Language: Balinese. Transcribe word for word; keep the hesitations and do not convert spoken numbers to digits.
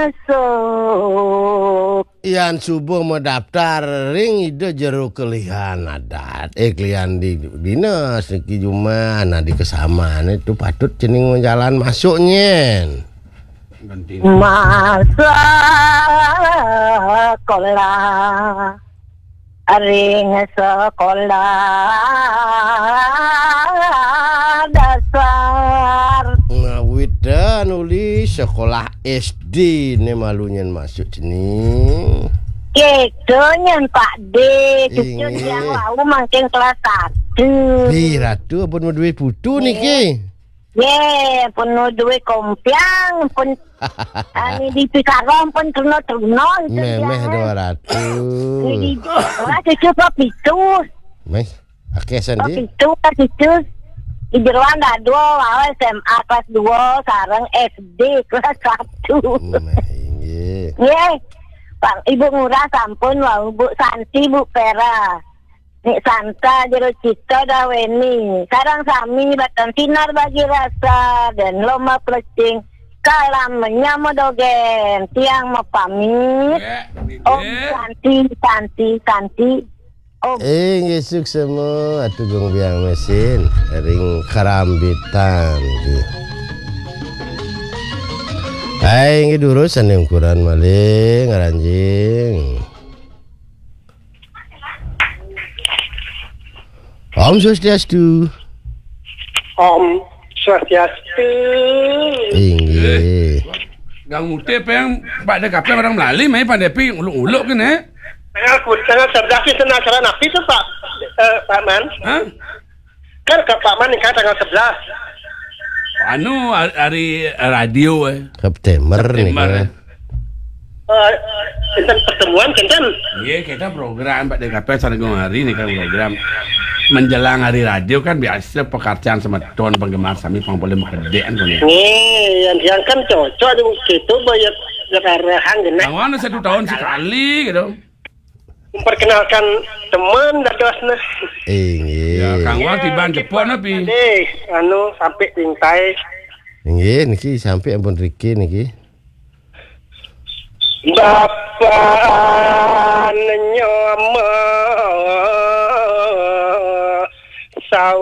Masuk. Yan subuh madaptar ring Ida jero kelihan adat. Eh, kelihan di dinas niki jumah, nah, di kesamaan itu patut cening jalan masuk nyen. Ganti. Masa sekolah. Ring sekolah dasar. Ngawit dah nuli sekolah S D ne malu nyen masuk sini. Gitu nyen, Pak D. Cucu inggih. Yang wau mangkin kelas satu. Pi ratu ampun madue putu niki. Ye, pun duwe kompiang, pun ani di Pikarong pun terno-terno itu. Memeh dia. Dua ratus. Ini di kelas cucu apa pitu? Meh, akeh sandi. Pitu, kelas cucu. Di jeroan dah dua, awal S M A kelas dua, sareng S D kelas satu. Meh, inggih. Ye, Pak, Ibu Ngurah sampun wau, Bu Santi, Bu Pera. Nik Santa jero cita dah weni. Sareng sami batan sinar bagi rasa dan lomba plecing. Kalam menyamo dogen. Tiang mapamit. Ya, Om Santi, Santi, Santi. Om. Eh, nggih, suksema, Atu Gung Biang Mesin, ring Karambitan, nggih. Hai, nggih, durus, ane ukuran malih, ngranjing. Om Swastiastu. Om Swastiastu. Inggih. Gang Mute peng Pak Dekape orang Melali, mai Pak Depi uluk-uluk kene. Tanggal ku-, tanggal sebelas itu acara napi tu, Pak, eh, Pak Man? Hah? Kan ke Pak Man ni kan tanggal sebelas. Anu, hari, hari radio, eh. September ni September, kan. Eh, tentang pertemuan, kan? Iya, kita program Pak D K P Sarenggung hari ni kan program. Menjelang hari radio kan biasa pekerjaan semeton penggemar sami pang boleh makedek kan, kan, ya. Nih, yang, yang kan cocok di situ, bayar, bayar arahan, kan? Yang mana satu tahun sekali gitu. Memperkenalkan teman dados nah. Inggih. Ya, Kang Wal tiban jepok napi? Deh, anu sampai tintai. Inggih, niki sampai ampun riki niki. Bapak nyomo sau